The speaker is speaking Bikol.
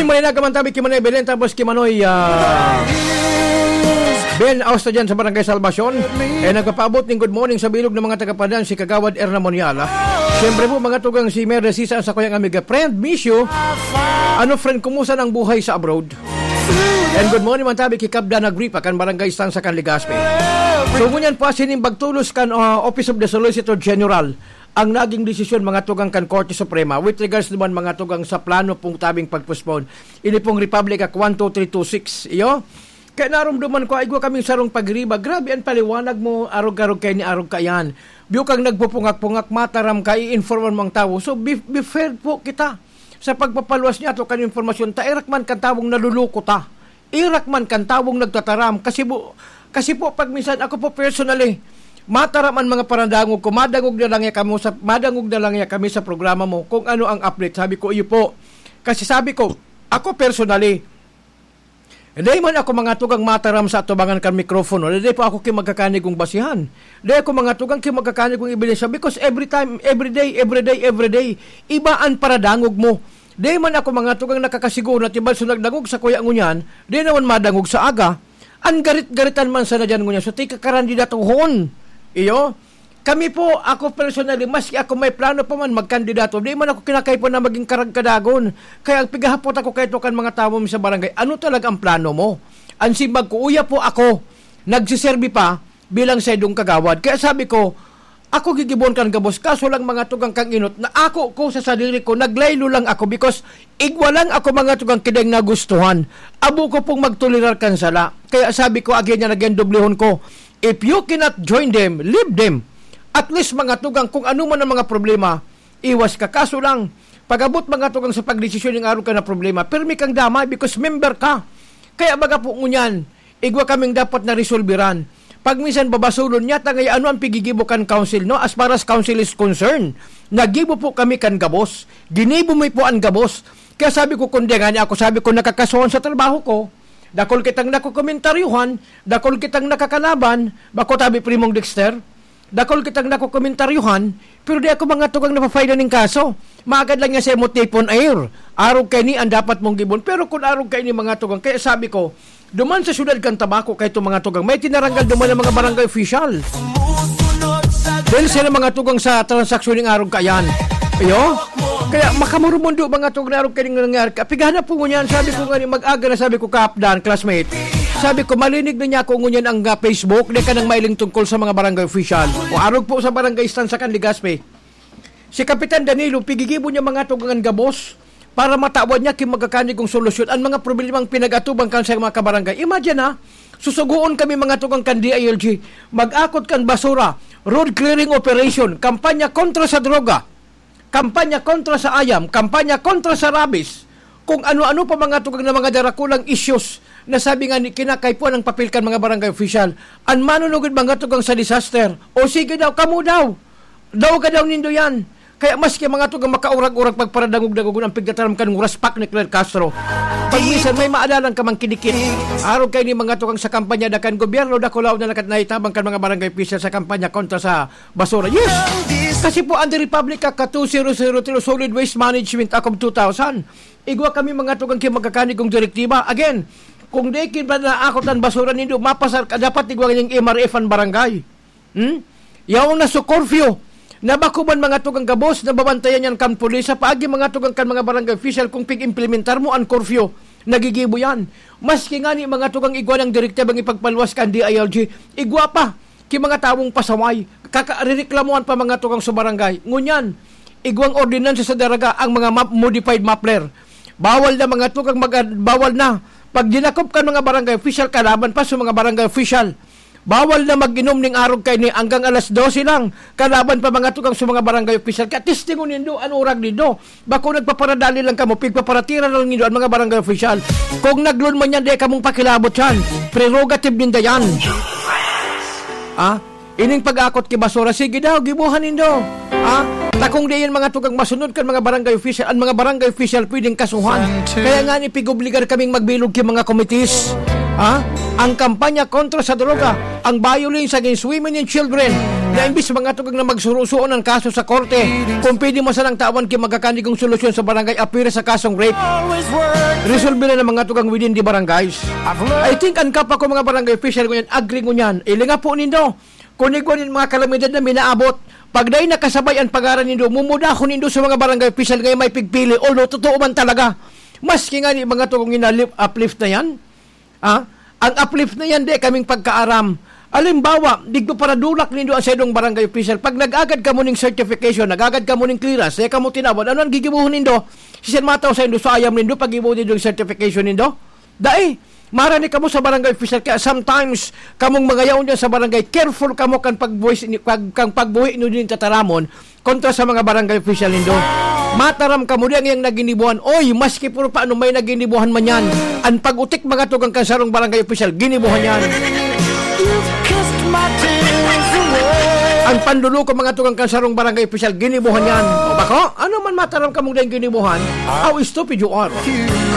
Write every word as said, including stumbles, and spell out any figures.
Maninaga man tabi ki Manoy Belen, tapos ki Manoy, ah, Ben Austa dyan sa Barangay Salvacion. Eh, nagpapaabot ning good morning sa bilog ng mga taga-Pandan, si Kagawad Erna Moniala. Siyempre po, mga tugang, si Mary Sisa, sa kuyang amiga. Friend, miss you. Ano, friend, kumusta ang buhay sa abroad? And good morning man tabi ki Kabda Nagripa, kan Barangay Stanza, kan Legazpi. So, ngunyan po, sinimbag tulos kan, ah, Office of the Solicitor General ang naging desisyon, mga tugang, kan Korte Suprema with regards naman, mga tugang, sa plano pong tabing pag-postpone. Ini pong Republic Act one two three two six, iyo. Kaya narumduman ko, ay, igwa kaming sarong pagriba. Grabe ang paliwanag mo, arog-arog kaini, arog kaiyan. Biyo kang nagpupungak-pungak, mataram ka, i-informan mo ang tawo. So, be, be fair po kita sa pagpapaluwas niya ato kan impormasyon. Ta, irak man kan tawong naluluko ta. Irak man kan tawong nagtataram. Kasi bu-, kasi po, pag minsan, ako po personally, mataram ang mga paradangog ko, madangog na lang ya kamo sa, madangog na lang ya kami sa programa mo kung ano ang update. Sabi ko, "Iyo po." Kasi sabi ko, ako personally, dai man ako, mga tugang, mataram sa atubangan kan mikropono. Dai po ako ki magkakanigong basihan. Dai ako, mga tugang, ki magkakanigong ebidensya. Because every time, every day, every day, every day, iba ang paradangog mo. Dai man ako, mga tugang, nakakasiguro na timbal sa nagdangog sa kuya ngunyan, dai naman madangog sa aga. Ang garit-garitan man sana dyan ngunyan. So, tika karandidatohon. Iyo? Kami po, ako personally, maski ako may plano pa man magkandidato, di man ako kinakaipo na maging karagkadagon. Kaya ang pigahapot ako kaito kan mga tawo mi sa barangay, "Ano talaga ang plano mo?" Ang simbag ko, "Uya po ako, nagsiserbi pa bilang saindong kagawad." Kaya sabi ko, "Ako gigibon kan gabos, kaso lang, mga tugang, kang inot na ako ko sa sadiri ko, naglaylo lang ako because igwa lang ako, mga tugang, ki daing nagustuhan. Abo ko pong magtolerar kan sala." Kaya sabi ko, again, yan again, doblehon ko, "If you cannot join them, leave them." At least, mga tugang, kung ano man ang mga problema, iwas ka. Kaso lang, pag-abot, mga tugang, sa pagdesisyon ning arog ka na problema, pirmi kang damay because member ka. Kaya baga po ngunyan, igwa kaming dapat na resolveran. Pag minsan babasulon niya, tangay ano ang pigigibo kan council, no? As far as council is concerned, nagibo po kami kan gabos. Ginibo mi po ang gabos. Kaya sabi ko, "Kundi nga niya ako," sabi ko, "nakakasuhan sa trabaho ko. Dakul kitang nakokomentaryuhan, dakul kitang nakakalaban, bako tabi, Primong Dexter, dakul kitang nakokomentaryuhan, pero di ako, mga tugang, napafile ning kaso. Maagad lang niya sa imo tipon air. Arog kaini ang dapat mong gibon." Pero kung arog kaini, mga tugang, kaya sabi ko, duman sa syudad kan Tabaco, kaito, mga tugang, may tinaranggal duman ang mga barangay official. Dahil sila, mga tugang, sa transaksyon ning arog kayan. Iyo? Kaya makamurumundo, mga tugang, na arog kaning nangyari. Kapigahan na po ngunyan, sabi ko nga ni, mag-aga na, sabi ko, "Kaapdan, classmate." Sabi ko, "Malinig na niya ako ngunyan ang, ah, Facebook, di ka nang mailing tungkol sa mga barangay official." O arog po sa barangay stand sa kan Legazpi. Si Kapitan Danilo, pigigibo niya, mga tugang, an gabos para matawan niya ki magkakanigong solusyon ang mga problemang pinag-atubang kan sa mga kabarangay. Imagine, ha, susugoon kami, mga tugang, kan D I L G, mag-akot kan basura, road clearing operation, kampanya kontra sa droga, kampanya kontra sa ayam, kampanya kontra sa rabies, kung ano-ano pa, mga tugang, na mga darakulang issues na sabi nga ni kinakaipuan ang papel kan mga barangay official. An manunugod, mga tugang, sa disaster, o sige daw, kamo daw, daw ka daw nindo yan. Kaya maski, mga tugang, makaurag-urag pagparadangog-dangogon ang pigtataram kan nguraspak ni Claire Castro. Pag minsan may maadalan ka mang kidikit. Arog kaini, mga tugang, sa kampanya da kan gobyerno, dakulaw na nakat-, naitabang kan mga barangay official sa kampanya kontra sa basura. Yes! Kasi po, under Republic Act two zero zero three, Solid Waste Management Act of two thousand, igwa kami, mga tugang, ki magkakanigong direktiba. Again, kung di kin ba naakot an basura nindo, mapasar ka, dapat igwa ning M R F an barangay. Hmm? Yaon na so curfew. Nabako man, mga tugang, gabos, nababantayan yan kan pulis. Sa paagi, mga tugang, kan mga barangay official, kung pig-implementar mo an curfew, nagigibo yan. Maski ngani, mga tugang, igwa nang direktibang ipagpaluwas kan D I L G, igwa pa ki mga tawong pasaway. Kaka-, rireklamuhan pa, mga tugang, sa barangay. Ngunyan, igwang ordinansa sa daraga ang mga map-, modified muffler. Bawal na, mga tugang, mag-, bawal na. Pag dinakop kan mga barangay official, kalaban pa sa mga barangay official. Bawal na mag-inom ning arog kaini hanggang alas dose lang. Kalaban pa, mga tugang, sa mga barangay official. Kaya testingon nindo an urag nindo. Bako nagpaparadali lang kamo, pigpaparatira lang nindo an mga barangay official. Kung naglon man yan, di kamong pakilabot yan. Prerogative ninda yan. Ah? Ining pag-akot ki basura, sige daw, gibohan nindo. Ah? Ta kung di yan, mga tugang, masunod kan mga barangay official, an mga barangay official pwedeng kasuhan. Kaya nga ni, pig-obligar kaming magbilog ki mga committees. Ah? Ang kampanya kontra sa droga, ang violence against women and children, Imbis mga tugang na magsurusuon ang kaso sa korte, kung pwede man sanang tawan ki magkakanigong solusyon sa barangay appear sa kasong rape. Resolve na ng mga tugang within the barangays. I think ang kapwa ko mga barangay official ngunyan, agree ngunyan. Ilinga po nindo. Kung igwa nin mga kalamidad na minaabot, pag dai nakasabay ang pangaran nindo, mumudahon nindo sa mga barangay official nga may pigpili. Although, totoo man talaga. Maski nga ni mga tugang ina-, uplift na yan, ah, ang uplift na yan, di kaming pagkaaram. Alimbawa, digdo paradulak nindo ang saindong barangay official. Pag nag-agad kamo ning certification, nag-agad kamo ning clearance, kaya kamo tinawag, ano ang gigibuhon nindo? Sisan mataw sa indo sa ayam nindo, pag-ibo nindo yung certification nindo? Dai, marani kamo sa barangay official. Kaya sometimes, kamong mga yaon dyan sa barangay, careful kamo kan pagbuhi, kan, kan pagbuhi nyo din tataramon kontra sa mga barangay official nindo. Mataram kamo di ang iyang naginibuhan. Oy, maski puro paano may naginibuhan man yan. Ang pag-utik mga tugang kan sarong barangay official, ginibuhan yan. Ang panluluko mga tugang kan sarong barangay official, ginibuhan yan. O bako, ano man mataram kamong di ang ginibuhan? How stupid you are.